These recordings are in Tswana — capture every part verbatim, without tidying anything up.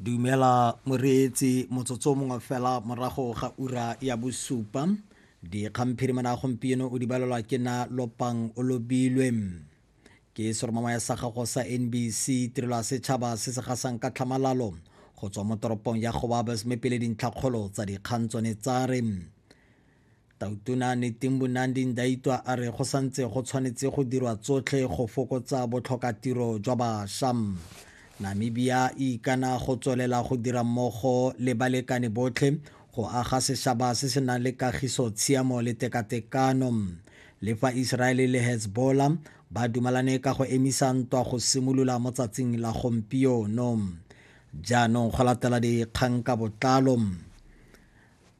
Dumela moreetsi, motsotso mongwe fela morago ga ura ya bosupa. Dikgang phirimana gompieno o di balelwa ke na Lopang o Lobilwe. Ke seromamaya sa gago sa N B C, tirelo ya setšhaba se se gasang ka tlhamalalo go tswa mo toropong ya Gobabis, mme pele dintlhakgolo tsa dikgang tsone tsa re: Tautona Netumbo Nandi Ndaitwah a re go santse go tshwanetse go dirwa tsotlhe go fokotsa botlhokatiro jwa bašwa. Namibia e ikana go tswelela go dira mmogo le balekane botlhe go aga sešaba se se nang le kagiso, tshiamo le tekatekano. Le fa Israele le Hezbollah ba dumalane ka go emisa ntwa go simolola mo tsatsing la gompieno. Jaanong go latela dikgang ka botlalo.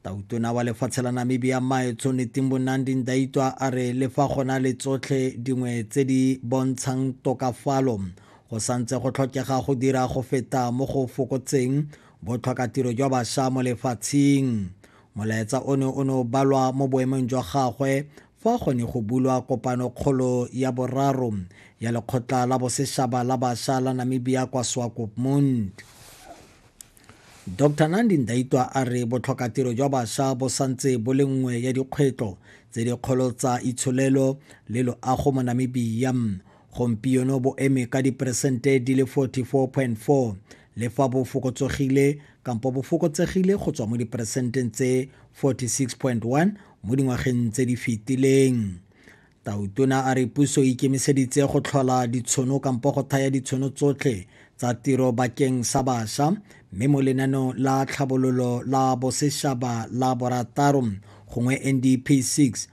Tautona wa lefatshe la Namibia, Maetsho Netumbo Nandi Ndaitwah, a re le fa go na le tsotlhe dingwe tse di bontshang tokafalo, go santse go tlhokega go dira go feta mo go fokotseng botlhokatiro jwa bašwa mo lefatsheng. Molaetsa ono o ne o balwa mo boemong jwa gagwe fa go ne go bulwa kopanokgolo ya boraro ya Lekgotla la Bosešaba la Bašwa la Namibia kwa Swakopmund. Doctor Nandi Ndaitwah a re botlhokatiro jwa bašwa bo santse bo le nngwe ya dikgwetlho tse dikgolo tsa itsholelo le loago mo Namibia. Gompieno bo eme ka diperesente di le forty-four point four, le fa bo fokotsegile kampo bo fokotsegile go tswa mo diperesenteng tse forty-six point one mo dingwageng tse di fetileng. Tautona a re puso e ikemiseditse go tlhola ditšhono kampo go thaya ditšhono tsotlhe tsa tiro bakeng sa bašwa, mme mo lenaneong la tlhabololo la bosešaba la borataro gongwe N D P six.